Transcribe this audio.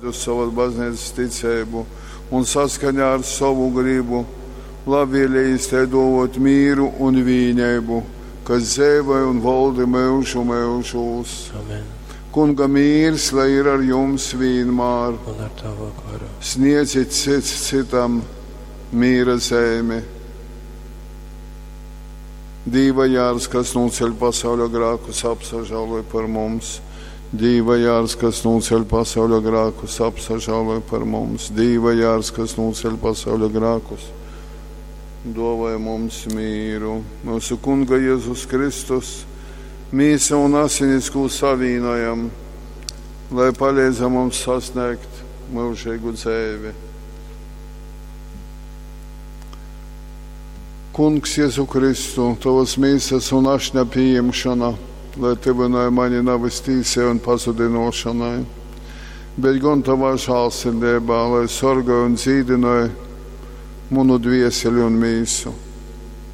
Uz sovas baznīcas ticeibu un saskaņā ar sovu gribu labvēlējīs tai dōvōt mīru un vīneibu, kas dzeivoj un voldi myužu myužūs. Amen. Kunga mīrs, lai ir ar jums vīnmār. Un ar tavu goru. Sniedzit cits citam mīra zeimi. Dīva jārs, kas nūceļ pasauļa grākus, apsažāloj par mums. Dīva jārs, kas nūceļ pasauļa grākus, apsažāloj par mums. Dīva jārs, kas nūceļ pasauļa grākus, dāvāj mums mīru. Mūsu Kunga Jēzus Kristus, mīsa un asinis, ko savīnojam, lai palīdz mums sasniegt mūžīgu dzīvi. Kungs Jēzu Kristu, tavas mīsas un ašņa pieņemšana, lai tyvināja mani navys tīsai un pazudinošanai, bet gan tavā žālsirdībā, lai sorgāj un dzīdināja manu dvieseli un mīsu.